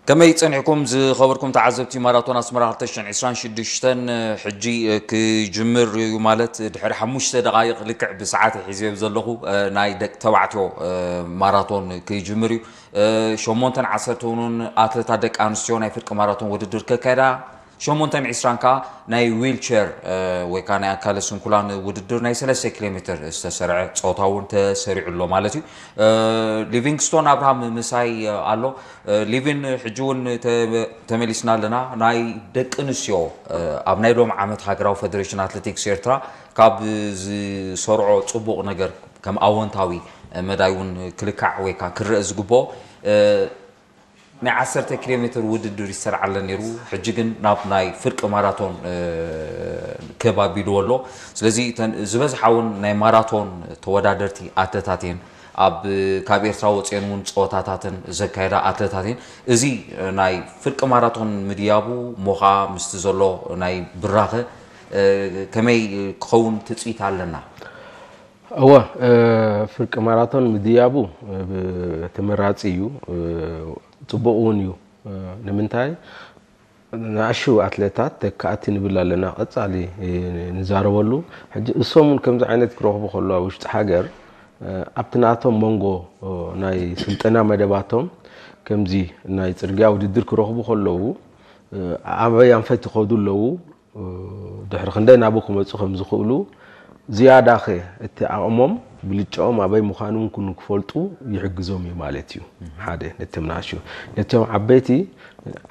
ከመይ ጸኒሕኩም ዝኸበርኩም ተዓዘብቲ ማራቶን ኣስመራ ክልተ ሽሕን ዕስራን ሽዱሽተን? ሕጂ ክጅምር እዩ፣ ማለት ድሕሪ ሓሙሽተ ደቓይቕ ልክዕ ብሰዓት ሒዘዮ ዘለኹ ናይ ደቂ ተባዕትዮ ማራቶን ክጅምር እዩ። ሸሞንተን ዓሰርተን እውን ኣትለታት ደቂ ኣንስትዮ ናይ ፍርቂ ማራቶን ውድድር ከካየዳ፣ ሸሞንተን ዕስራን ከኣ ናይ ዊልቸር ወይ ከዓ ናይ ኣካለ ስንኩላን ውድድር ናይ ሰለስተ ኪሎ ሜትር ዝተሰርዐ ጾታ እውን ተሰሪዑ ኣሎ ማለት እዩ። ሊቪንግስቶን ኣብርሃም ምሳይ ኣሎ። ሊቪን፣ ሕጂ እውን ተመሊስና ኣለና። ናይ ደቂ ኣንስትዮ ኣብ ናይ ሎም ዓመት ሃገራዊ ፈደሬሽን ኣትሌቲክስ ኤርትራ ካብ ዝሰርዖ ጽቡቕ ነገር ከም ኣወንታዊ መዳይ እውን ክልካዕ ወይ ከዓ ክረአ ዝግብኦ ናይ ዓሰርተ ኪሎ ሜትር ውድድር ይሰርዓለን ነይሩ። ሕጂ ግን ናብ ናይ ፍርቂ ማራቶን ክብ ኣቢልዎ ኣሎ። ስለዚ ዝበዝሓ እውን ናይ ማራቶን ተወዳደርቲ ኣትለታት እየን። ኣብ ካብ ኤርትራ ወፅኤን እውን ፀወታታትን ዘካየዳ ኣትለታት እየን። እዚ ናይ ፍርቂ ማራቶን ምድያቡ ሞኻ ምስቲ ዘሎ ናይ ብራኸ ከመይ ክኸውን ትፅኢት ኣለና? እወ፣ ፍርቂ ማራቶን ምድያቡ ተመራፂ እዩ፣ ፅቡቕ እውን እዩ። ንምንታይ? ንኣሽው ኣትሌታት ተካእቲ ንብል ኣለና፣ ቀፃሊ ንዛረበሉ። ሕጂ እሶም እውን ከምዚ ዓይነት ክረኽቡ ከለዉ ኣብ ውሽጢ ሃገር ኣብቲ ናቶም መንጎ ናይ ስልጠና መደባቶም ከምዚ ናይ ፅርግያ ውድድር ክረኽቡ ከለዉ ኣበይ ኣንፈት ይኸዱ ኣለዉ፣ ድሕሪ ክንደይ ናብኡ ክመፁ ከም ዝኽእሉ ዝያዳኸ እቲ ዓቕሞም ብልጫኦም ኣበይ ምዃኑ እውን ንክፈልጡ ይሕግዞም እዩ ማለት እዩ። ሓደ ነቶም ንኣሽቱ። ነቶም ዓበይቲ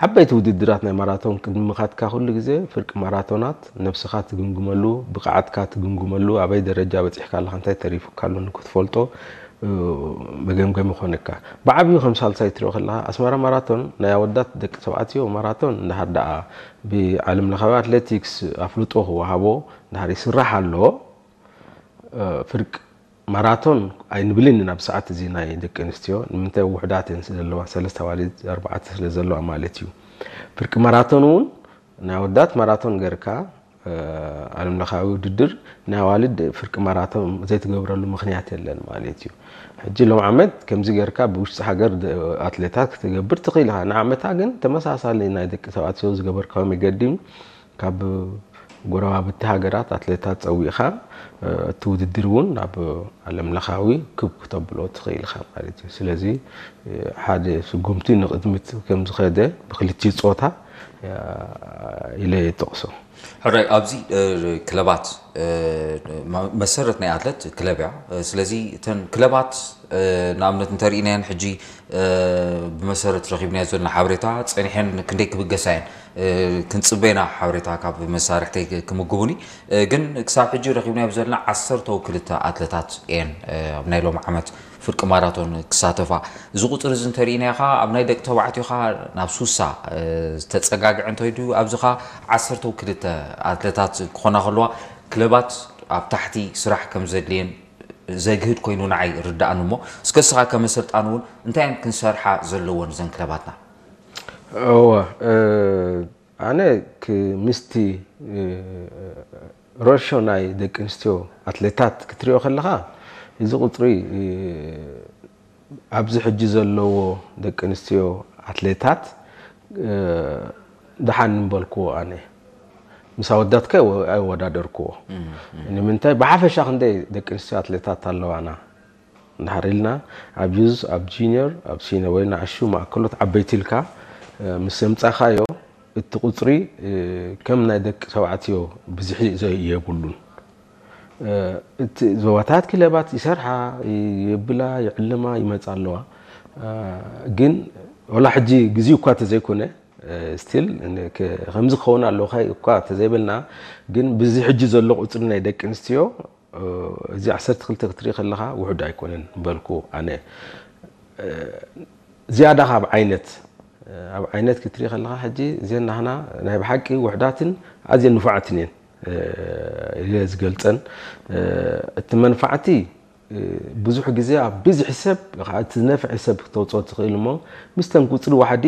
ዓበይቲ ውድድራት ናይ ማራቶን ቅድሚ ምኻድካ ኩሉ ግዜ ፍርቂ ማራቶናት ነብስኻ ትግምግመሉ፣ ብቕዓትካ ትግምግመሉ፣ ኣበይ ደረጃ በፂሕካ ኣለኻ፣ እንታይ ተሪፉካ ኣሎ ንክትፈልጦ መገምገሚ ይኾነካ። ብዓብዩ ከም ሳልሳይ ትሪኦ ከለኻ ኣስመራ ማራቶን ናይ ኣወዳት ደቂ ተባዕትዮ ማራቶን እንድሕር ደኣ ብዓለም ለኻዊ ኣትሌቲክስ ኣፍልጦ ክወሃቦ እንድሕር ይስራሕ ኣሎ፣ ፍርቂ ማራቶን ኣይንብልን ኢና ብሰዓት እዚ ናይ ደቂ ኣንስትዮ። ንምንታይ? ውሑዳት እየን ስለዘለዋ፣ ሰለስተ ኣዋልድ ኣርባዕተ ስለዘለዋ ማለት እዩ። ፍርቂ ማራቶን እውን ናይ ኣወዳት ማራቶን ገርካ ዓለም ለኻዊ ውድድር ናይ ኣዋልድ ፍርቂ ማራቶን ዘይትገብረሉ ምኽንያት የለን ማለት እዩ። ሕጂ ሎም ዓመት ከምዚ ገርካ ብውሽጢ ሃገር ኣትሌታት ክትገብር ትኽእል ኢኻ። ንዓመታ ግን ተመሳሳሊ ናይ ደቂ ተባዕትዮ ዝገበርካዮ መገዲ ካብ ጎረባብቲ ሃገራት ኣትሌታት ጸዊዕኻ እቲ ውድድር እውን ናብ ዓለም ለኻዊ ክብ ክተብሎ ትኽእል ኢኻ ማለት እዩ። ስለዚ ሓደ ስጉምቲ ንቕድሚት ከም ዝኸደ ብክልቲኡ ጾታ ኢለ ይጠቕሶ። ሕራይ፣ ኣብዚ ክለባት መሰረት ናይ ኣትለት ክለብ እያ። ስለዚ እተን ክለባት ንኣብነት እንተርኢናየን ሕጂ ብመሰረት ረኺብናዮ ዘለና ሓበሬታ ጸኒሐን ክንደይ ክብገሳ እየን ክንጽበ ኢና። ሓበሬታ ካብ መሳርሕተይ ክምግቡኒ። ግን ክሳብ ሕጂ ረኺብናዮ ዘለና ዓሰርተው ክልተ ኣትለታት እየን ኣብ ናይ ሎም ዓመት ፍርቂ ማራቶን ክሳተፋ። እዚ ቁፅሪ እዚ እንተርኢናዮ ኸዓ ኣብ ናይ ደቂ ተባዕትዮ ኸዓ ናብ ሱሳ ዝተፀጋግዐ እንተይዱ፣ ኣብዚ ኸዓ ዓሰርተው ክልተ ኣትለታት ክኾና ከለዋ ክለባት ኣብ ታሕቲ ስራሕ ከም ዘድልየን ዘግህድ ኮይኑ ንዓይ ይርድኣኒ። እሞ እስከ እስኻ ከም ኣሰልጣኒ እውን እንታይ እየን ክንሰርሓ ዘለወን እዘን ክለባትና? እወ፣ ኣነ ምስቲ ሮሾ ናይ ደቂ ኣንስትዮ ኣትሌታት ክትሪኦ ከለኻ፣ እዚ ቁፅሪ ኣብዚ ሕጂ ዘለዎ ደቂ ኣንስትዮ ኣትሌታት ደሓን ምበልክዎ ኣነ። ምስ ኣወዳትከ ኣይወዳደርክዎ። ንምንታይ? ብሓፈሻ ክንደይ ደቂ ኣንስትዮ ኣትሌታት ኣለዋና? እንድሕር ኢልና ኣብ ዩዝ፣ ኣብ ጂኒየር፣ ኣብ ሲኒየር ወይ ንኣሽቱ ማእከሎት ዓበይቲ ኢልካ ምስ ኣምጻኻዮ እቲ ቁጽሪ ከም ናይ ደቂ ተባዕትዮ ብዝሒ የብሉን። እቲ ዞባታት ክለባት ይሰርሓ፣ የብላ፣ ይዕልማ፣ ይመጻ ኣለዋ። ግን ወላ ሕጂ ግዜኡ እኳ ተዘይኮነ ስቲል ከምዚ ክኸውን ኣለዎ እኳ ተዘይበልና ግን ብዚ ሕጂ ዘሎ ቁጽሪ ናይ ደቂ ኣንስትዮ እዚ ዓሰርተ ክልተ ክትርኢ ከለኻ ውሑድ ኣይኮነን በልኩ ኣነ። ዝያዳ ካብ ዓይነት ኣብ ዓይነት ክትርኢ ከለኻ ሕጂ እዘን ናህና ናይ ብሓቂ ውሕዳትን ኣዝየን ንፉዓትን እየን ኢለ ዝገልጸን። እቲ መንፋዕቲ ብዙሕ ግዜ ኣብ ብዝሒ ሰብ እቲ ዝነፍዐ ሰብ ክተውፅኦ ትኽእል እሞ ምስተን ቁፅሪ ዋሕዲ